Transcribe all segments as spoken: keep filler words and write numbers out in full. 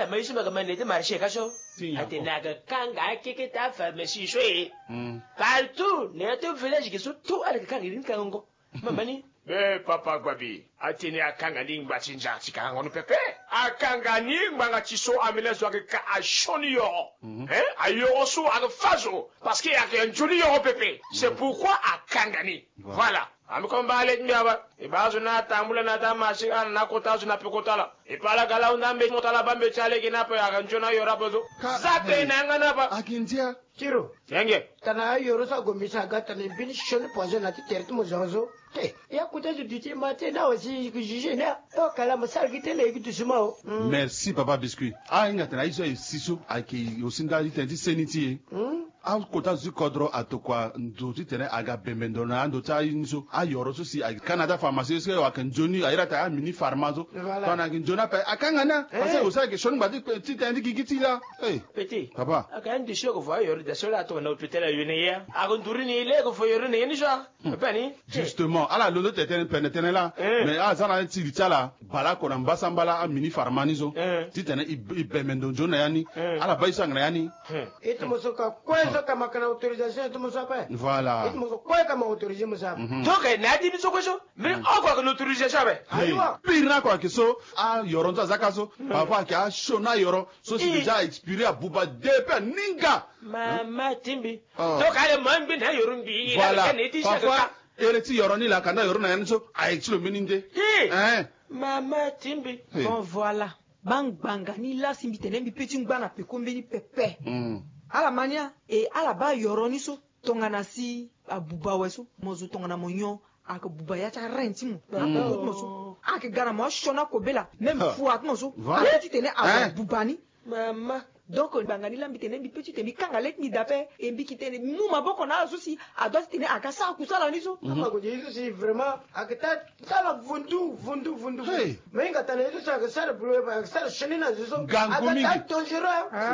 Ama ye so ma ga ma na ete marché ka so. Atene aga kanga akeke ta pharmacie so e. Partout na ya to village ge so tout ala ga kanga ni kanga ngo. Mama ni. Be papa gbabi, atene akanga ni ngba ti nza ti kanga ngo ni pepe. Akanga ni ngbanga ti so amene zo aga ka asioni yoro. Ayoro so aga fa zo parce que aga nzoni yoro pepe. C'est pourquoi akanga ni. Voilà. Ami komba ale ti mbi aba. E baa zo na atambula na ata marché ana na kota zo na pekota la. E pala gala hunda mbe ti mota la ba mbe ti alege na pe aga nzoni ayoro ape zo. Za tene na yanga na ba. Akindia. Tiro. Yenge. Tana ayoro so ago misa aga tana mbeni sioni poison na ti tere ti mo zo zo. Te. Ya kuta zo duti ma te na wasi ki juge na. O kala mo sara gi tele gi doucement o. Merci papa biscuit. A hinga tana iso e si so ayeke aussi nda ti tene ti seni ti e. Akota zo ti kodro atokua ndo titene aga bembe ndo na ando ti aye ni so ayoro so si ayeke ka na ata pharmacie so ayeke nzoni ayeke iri ata amini pharma so. Tongana ayeke nzoni ape akanga ni a parce que aussi ayeke sioni ngba ti tene ti gigi ti e laa. Papa. Ayeke andi so ayeke vo ayoro daa so laa atokua na hôpital ayo na ye a. Ayeke nduru ni e laa ayeke vo yoro na ye ni so a. Justement ala londo tene tënë pene tënë laa. Mais aza na ti li ti ala baleoko na mbasambala amini pharma ni so titene e bembe ndo nzoni na ya ni. Ala baa e so ayeke na ya ni. Iti mo so ka kue so ka ma ka na autorisation iti mo so ape. Voilà. Iti mo so kue ka ma autorisé mo so ape. Donc na ya ti ni so kue so mais oko ayeke na autorisation ape. Ayiwa. Pire ni oko ayeke so ayoro ni so aza ka so. Papa ayeke asioni ayoro so si déjà expiré abuba depuis aninga. Mama ti mbi. Donc ale mo angbi na ayoro mbi. Voilà. Parfois ere ti yoro ni laa ka nda yoro na ya ni so ayeke ti lo mbeni nde. Mama ti mbi. Bon voilà. Bangbanga ni lasi mbi tene mbi pe ti ngba na peko mbeni pepe. Ala ma ni a e ala baa yoro ni so tongana si abuba awe so mo zo tongana mo nyon. Ayeke buba ya ti arend ti mo. Abuba ti mo so ayeke ga na mo asioni akobela même fua ti mo so. Ala titene abuba ni. Mama. Donc ngbanga ni laa mbi tene mbi pe titene mbi kanga le ti mbi daa ape. E mbi yeke tene mu maboko na ala so si adua titene aga sara kusala ni so. Ama ko ye so si vraiment ayeke ta tala vundu vundu vundu. Me hinga tana ye so si ayeke sara bulu ayeke sara sioni na zo so. Ngangu mingi.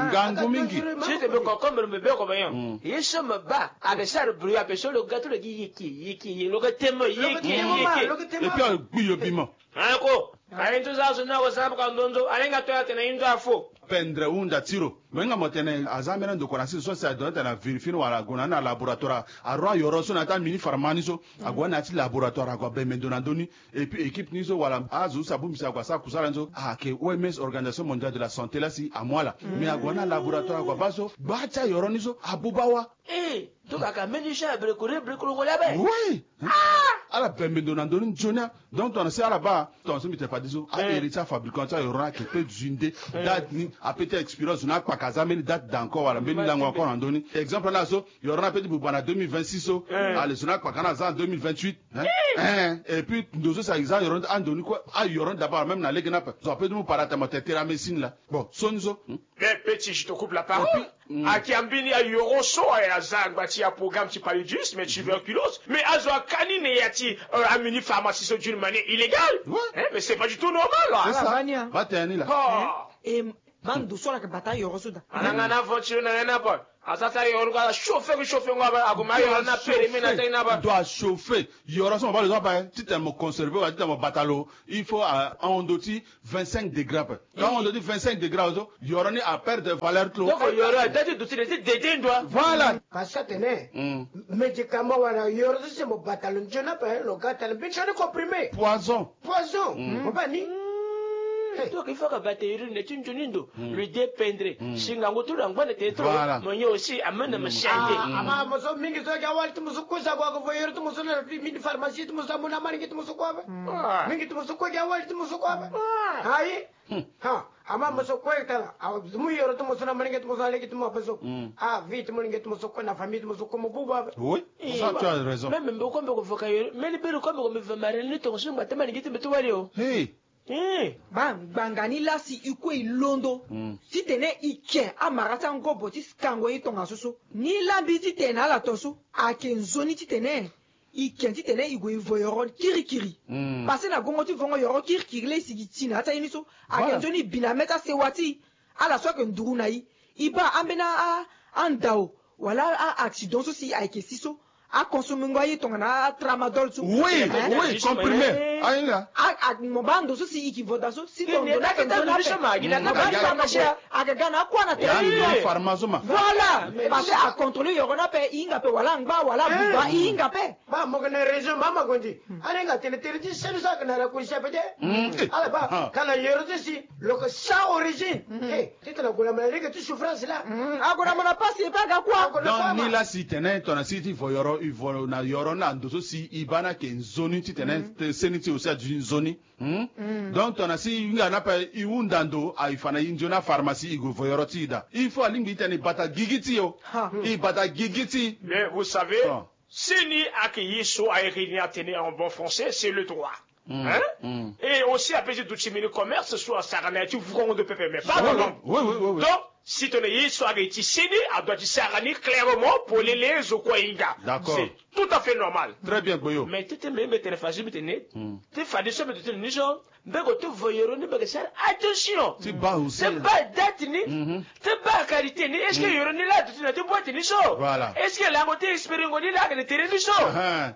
Ngangu mingi. Si te mbi concombre mbi be ko ba nyon ye so mbi baa ayeke sara bulu ape so lo ga ti lo gi yeke yeke yeke lo ga temo yeke yeke. Et puis agbi yo bima. Ako aye nzo za so ni ako sara mbi ka ndonzo alenga to ya tene ye nzo afo. Pendre hunda ti lo. Mo hinga mo tene aza ambeni andokua na sese so si adona tene avérifié ni wala ague na ni na laboratoire. Aru ayoro so na ya ti amini pharma ni so ague na ya ti laboratoire ague abembe ndo na ndö ni. Et puis équipe ni so wala azo so si abongbi si ague asara kusala ni so ayeke O M S, Organisation Mondiale de la Santé laa si amu ala. Mais ague na laboratoire ague abaa so gbaa ti ayoro ni so abuba wa. Eh, donc aka mbeni so abrekore brekoro ngole abe. Oui. Ala bembe ndo na ndö ni nzoni a. Donc tongana si ala baa tongana so mbi tene fade so ahere ti afabricant ti ayoro ni ayeke pe zui nde. Date ni ape ti expiré zo ni akpaka aza mbeni date d'encore wala mbeni lango encore na ndö ni. Exemple ni azo yoro ni ape ti buba na deux mille vingt-six so. Ale zo ni akpaka ni aza na deux mille vingt-huit. Et puis ndo so si aza yoro ni ando ni kue ayoro ni d'abord même na lege ni ape zo ape ti mu paratamate teramécine la. Bon so ni so. Mais petit, je te coupe la parole. Ayeke ambeni ayoro so aye aza angba ti aprogramme ti paludisme, tuberculose. Mais azo aka ni na ya ti amini pharmacie so d'une manière illégale. Mais c'est pas du tout normal. Ba tene ni la. E ma ndo so ala yeke bata ayoro so daa. Ana nga na avant ti lo na ya ni ape. Aza ti ayoro ni kue ala chauffer ku chauffer ngo ape ague ma ayoro ni apere mi na ata ni ape. Ndo achauffer. Yoro so mo baa lo so ape titene mo conserver wala titene mo bata lo. Il faut ahon ndo ti vingt-cinq degrés ape. Ka ahon ndo ti vingt-cinq degrés azo yoro ni aperdre valeur ti lo. Donc yoro aza ti duti na ti dede ndo a. Voilà. Parce que atene médicament wala yoro so si mo bata lo nzoni ape lo ga atene mbeni sioni comprimé. Poison. Poison. Mo baa ni. Donc il faut ka bata yoro na ti nzoni ndo. Lo dépendre si ngangu ti lo angba na tene ti lo. Mo nyon aussi amene mo change. Ama mo so mingi so ayeke awali ti mo so kue so ague ague vo yoro ti mo so na mini pharmacie ti mo so amu na amolenge ti mo so kue ape. Mingi ti mo so kue ayeke awali ti mo so kue ape. Ayi. Ha, ama mo so kue tara amu yoro ti mo so na molenge ti mo so na lege ti mo ape so. Avi ti molenge ti mo so kue na famille ti mo so kue mo bubu ape. Oui. Ça tu as raison. Même mbi kue mbi ko voka yoro mbeni beri kue mbi ko mbi va marene ni tongaso ngba ti molenge ti mbi ti wali o. Ba ngbanga ni lasi e kue e londo titene e ke amara ti angobo ti kango ye tongaso so. Ni la mbi titene ala to so ayeke nzoni titene e ke titene e gue e vo yoro kirikiri. Pase na gongo ti vongo yoro kirikiri la e sigi ti na ya ti aye ni so ayeke nzoni e bi na mê ti asewa ti e. Ala so ayeke nduru na e e baa ambeni andao wala a-accident so si ayeke si so. Aconsomengo aye tongana atramadol so. Oui, oui, comprimé. Ahinga. Mo baa ndo so si i ki voda so si ndo na ke nzoni ape. Aga ga na akua na tere ti pharmacie. Voilà. Parce que acontrôler yoro ni ape, i hinga ape wala angba wala abuba, i hinga ape. Ba mo ga na région ba ma gondi. Ahinga tene tere ti seni so aga na rakurisi ape te. Ala ba ka na yoro ti si lo ke sans origine. Ti tena gola ma na lege ti souffrance la. Agola ma na pasi e pe aga kua. Donc ni la si tene tona si ti vo yoro i vo na yoro na ndo so si i baa na ke nzoni ti tene seni ti aussi aduti nzoni. Donc tona si i hinga na pe i hunda ndo, i fa na i nzoni apharmacie i gue vo yoro ti i daa. Il faut alingbi i tene i bata gigi ti i o. I bata gigi ti i. Mais vous savez, seni ake ye so aye réunir atene en bon français, c'est le droit. Et aussi ape ti duti mini commerce so asara na ya ti vrongo de pepe mais pas la langue. Donc si tona ye so aga ti seni adoit ti sara ni clairement polele zo kue ahinga. D'accord. C'est tout à fait normal. Très bien, Gboyo. Mais tete mbe mbe tene fazi mbe tene te fadi so mbe tene ni so mbe go te voyero ni mbe ke sara attention. Ti baa aussi. Te baa date ni. Te baa qualité ni. Est-ce que yoro ni la duti na te boîte ni so? Voilà. Est-ce que lango te espéringo ni la aga na tere ni so?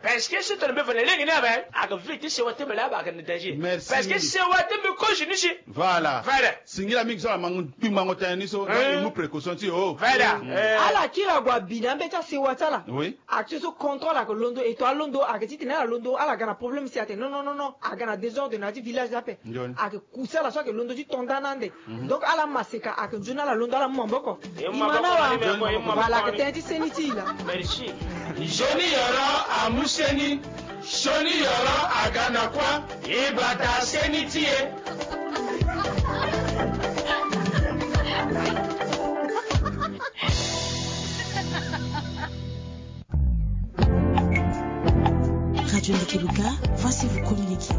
Parce que si tona mbe fa na lege ni abe aga vie ti sewa te mbe la aba aga na danger. Merci. Parce que sewa te mbe kozi ni si. Voilà. Voilà. Singila mingi so ala mangu kpingbango tene ni so. Donc i mu précaution ti o. Voilà. Ala kiri ague abi na mbe ti asewa ti ala. Oui. Action so contrôle ake londo eto alondo ake ti tene ala londo ala ga na problème si atene non non non non aga na désordre na ya ti village ape. Ake kusa ala so ake londo ti tonda na ande. Donc ala maseka ake nzoni ala londo ala mu maboko. Imana wa. Voilà ake tene ti seni ti i la. Merci. Nzoni yoro amu seni. Sioni yoro aga na kua. I bata seni ti e. Radio Ndekeluka, voici vous communiquer.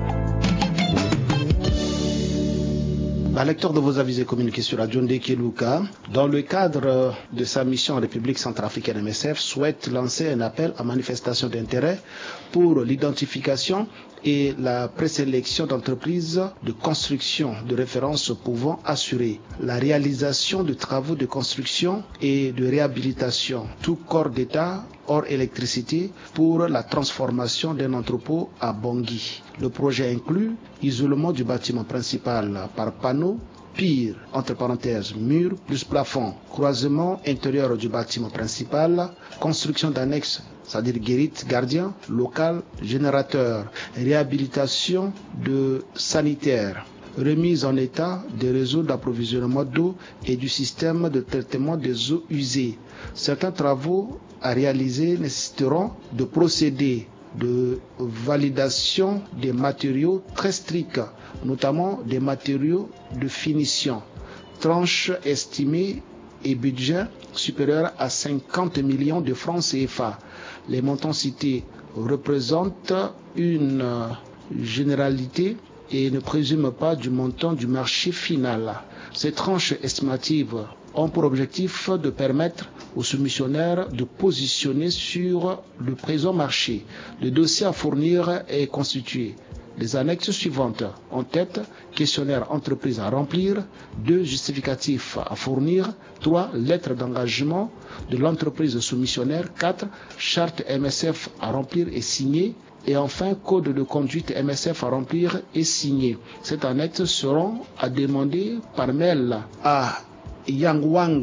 Bah, lecteur de vos avis et communiqués sur Radio Ndekeluka, dans le cadre de sa mission en République centrafricaine, M S F souhaite lancer un appel à manifestation d'intérêt pour l'identification et la présélection d'entreprises de construction de référence pouvant assurer la réalisation de travaux de construction et de réhabilitation, tout corps d'État hors électricité, pour la transformation d'un entrepôt à Bangui. Le projet inclut isolement du bâtiment principal par panneaux, pire, entre parenthèses, mur plus plafond, croisement intérieur du bâtiment principal, construction d'annexes, c'est-à-dire guérite, gardien, local, générateur, réhabilitation de sanitaires, remise en état des réseaux d'approvisionnement d'eau et du système de traitement des eaux usées. Certains travaux à réaliser nécessiteront de procéder de validation des matériaux très stricts, notamment des matériaux de finition. Tranche estimée et budget supérieur à cinquante millions de francs C F A. Les montants cités représentent une, euh, généralité et ne présument pas du montant du marché final. Ces tranches estimatives ont pour objectif de permettre aux soumissionnaires de positionner sur le présent marché. Le dossier à fournir est constitué des annexes suivantes. En tête, questionnaire entreprise à remplir, deux justificatifs à fournir, trois lettres d'engagement de l'entreprise soumissionnaire, quatre charte M S F à remplir et signer, et enfin code de conduite M S F à remplir et signer. Cette annexe seront à demander par mail à Yang Wang,